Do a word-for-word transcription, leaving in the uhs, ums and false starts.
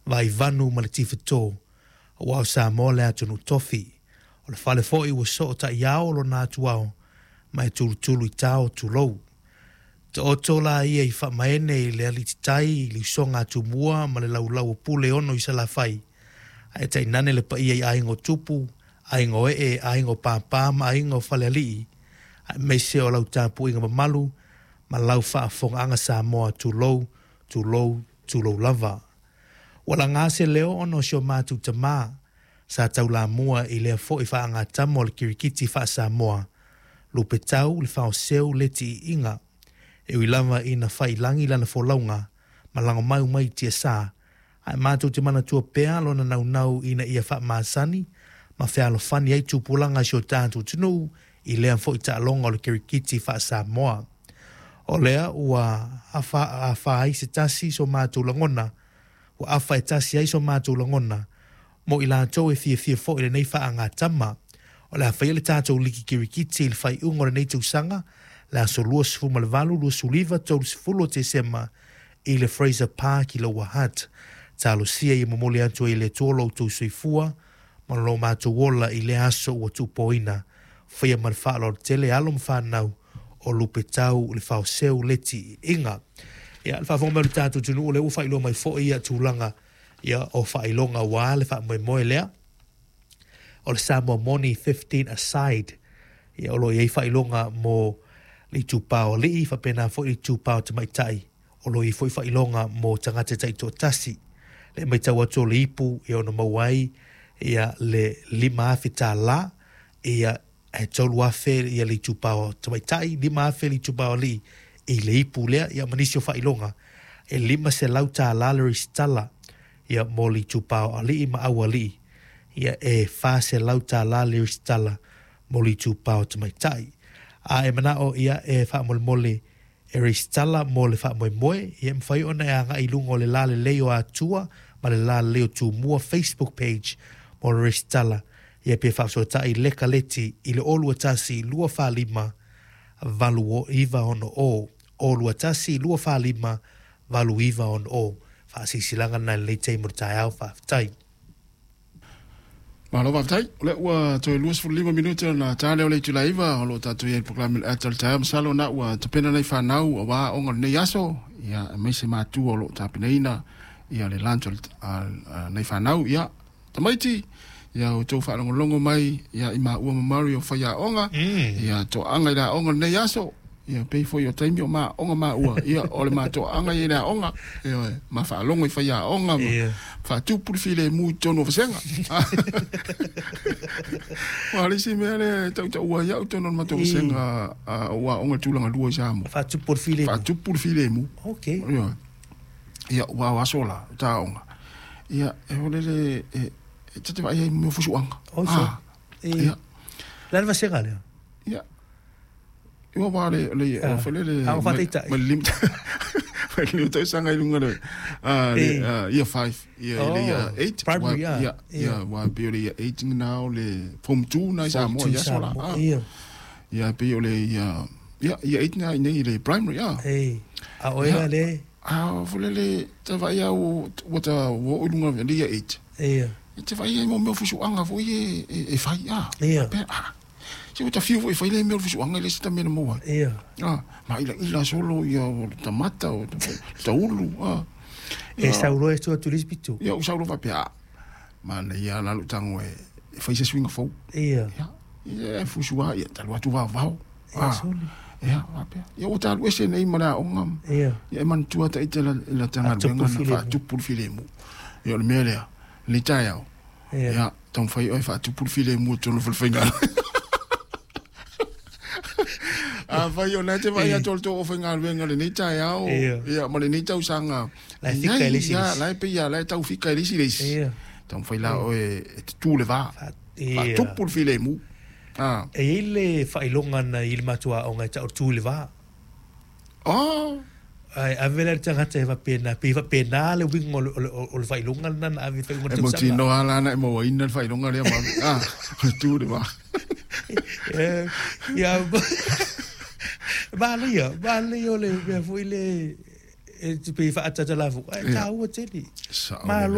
Vaivanu ma le Tifato, auā o Samoa le atunuu tofi. O le fale foi ua soo ta'iao lona atuao ma e tulutulu i tao tulou. Taoto la ia i faamaene i le alititai i le usoga a Tumua ma le laulau o Pule ono i Salafai, ae tainane le paia i aiga o tupu, aiga o ee, aiga o pāpā ma aiga o faleali'i, aemaise o lau tapuaiga mamalu ma lau faafofogaaga Samoa, tulou, tulou, tulou lava. Ua lagā se leo ona o si o matou tamā sa taulamua i lea foi faagatama o le kirikiti faa-Samoa, Lupetau Lefaoseu Leti Iiga. E ui lava ina faiilagi lana folauga ma lagomau mai i tiasā, ae matou te manatua pea lona naunau ina ia faamasani ma fealofani ai tupulaga a si o tatou atunuu i lea foi taaloga o le kirikiti faa-Samoa. O lea ua afa afa ai se tasi so matou lagona, ua afa e tasi ai so matou lagona mo i latou e fiafia foi i lenei faagatama. O le a faia le tatou liki kirikiti i le faaiuga o lenei tausaga, le aso luasefulu ma le valu, luasefuluiva, tolusefulu o Tesema i le Fraser Park i Lower Hutt. Talosia ia momoli atu ai e le Atua lo outou soifua ma lo matou ola i lea aso ua tuupoina. Faia ma le faaaloalo tele alo ma fanau o Lupetau Lefaoseu Leti Iiga. Ia, le faafofoga mai o le tatou atunuu, o lea ua faailoa mai foi ia tulaga ia o faailoga aua le faamoemoe lea o le Samoa Moni fifteen aside. Ia, o lo o i ai faailoga mo le itupā o alii, faapena foi le itupā o tamaitai. O lo o i ai foi faailoga mo tagata taitoatasi. Le matau atu o le ipu e ono maua ai ia le lima afe tālā, ia e tolu afe ia le itupā o tamaitai, lima afe le itupā o alii i le ipu lea, ia ma nisi o faailoga. E lima selau tālā le resitala ia mo le itupā o alii ma aualii, ia e fa selau tālā le resitala mo le itupā o tamaitai. A e manao ia e faamolemole e resitala mo le faamoemoe, ia e mafai ona e agai i luga o le lalelei o Atua ma le lalelei o Tumua Facebook page mo le resitala, ia pe faafesootai leka leti i le o lua tasi lua fa lima valu iva ono o, o lua tasi lua fa lima valu iva ono o. Faasilasilaga na i lenei taimi o le taeao. Faafetai. Malo faafetai. O lea ua toe luasefulu lima minute ona ta lea o le itula e iva. O loo tatou i ai i le polokalame ata o le taeao. Masalo na ua tapena nei fanau auā aoga o lenei aso, ia aemaise matua o loo tapenaina ia le lunch o nei fanau. Ia tamaiti, ia outou faalogologo mai ia i maua ma Mari o faiaoga, ia toaga i le aoga o lenei aso. Ia pei foi o taimi o maaoga maua, ia o le matoaga i le aoga, ia ma faalogo i faiaoga ma Ia. faatupu le filemu i totonu o vasega. Ua le isi mea lea e tautaua ai au totonu o le matou vasega o aoga i tulaga lua i Samoa. Faatupu le filemu. Faatupu le filemu. Ok. Ia, ia ua o aso la ta aoga, ia e ole le e e te te vai ai mo fusuanga. Oi so. Ah, E ia. La le vasega lea. Ia ua wa le le Ah. o fele le Ah, o faataitai. ma lim ma lim tausaga i luga le ah le Eh. ah, year five, ia Oh, le year eight. primary, ah. Ia Ia. ia wa pe o le year eight now le form two na i Samoa ia sola. Ah. Ia. Ia pe o le ia ia year eight na nei le primary ah. E a oe Ia. la le. Ah, fole le te vai au ua ta ua o lunga le year eight. Ia. E te vai ai mo mea fusuanga foi e e, e fai ah. Ia. Pe ah. Se ua ta fiu foi fai le mea fusuanga le se ta mea na maua. Ia. Ah, ma ila ila solo ia o le tamata o ta ulu ah. E saulo e tua tu pitu. Ia u saulo fa ah. Ma na ia la lu tango e e fai se swinga fou. Ia. Ia. Ia e fusua ia talu atu vao vao. Ia soli. Ia, faapea. Ia ua talu ese nei ma le aoga. Ia. Ia e manatua ta ita la la Faatupu tagaluega na filemu. faatupu le filemu. Ia o le mea lea, le taeao. Ia. Ia, taumafai oe faatupu le filemu i totonu o falefaiga. Afai o lea te vaai atu o le tou aufaigaluega lenei taeao, Ia. ia ma lenei tausaga. La e fika i le isi Ia, le isi. la e pei ia, la e tau fika i le isi le isi. Ia. Taumafai la oe e tutū le vā. Fa- Ia. Faatupu le filemu. Ah. E i ai le faailoga na i le matou aoga e ta'u tu i le vā. Oh. Ai ave le tagata e faapena pe faapena le uiga o le- o le o le faailoga lena na ave i faaiuga o le E tausaga. mautinoa la na e mauaina le faailoga lea ma. Ah, o le tū le vā. Eh, ia manaia manaia o le mea foi le e te pei faatatala fo ai Ia. taua tele Sao malo. Lelei.